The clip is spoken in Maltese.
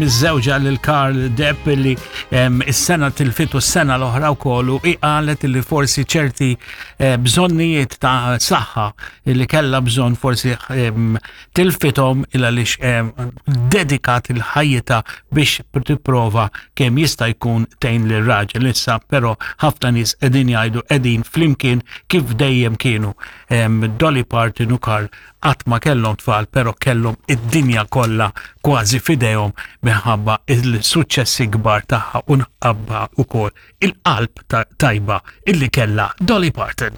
Miżżewġa lil Karl Depp li is-sena tilfitu s-sena l-oħra wkoll u hi qalet li forsi ċerti eh, bżonnijiet ta' saħħa li kellha bżonn forsi tilfithom il għaliex dedikat il-ħajjita biex tipprova kemm jista' jkun tgħin lir raġel issa però ħafna nies qegħdin jgħidu qegħdin flimkien kif dejjem kienu Dolly Parton u Karl Qatt ma kellhom tfal però kellhom id-dinja kollha kważi f'idejhom minħabba il-suċċessi kbar tagħha u nħabba wkoll il-qalb tajba illi kellha Dolly Parton.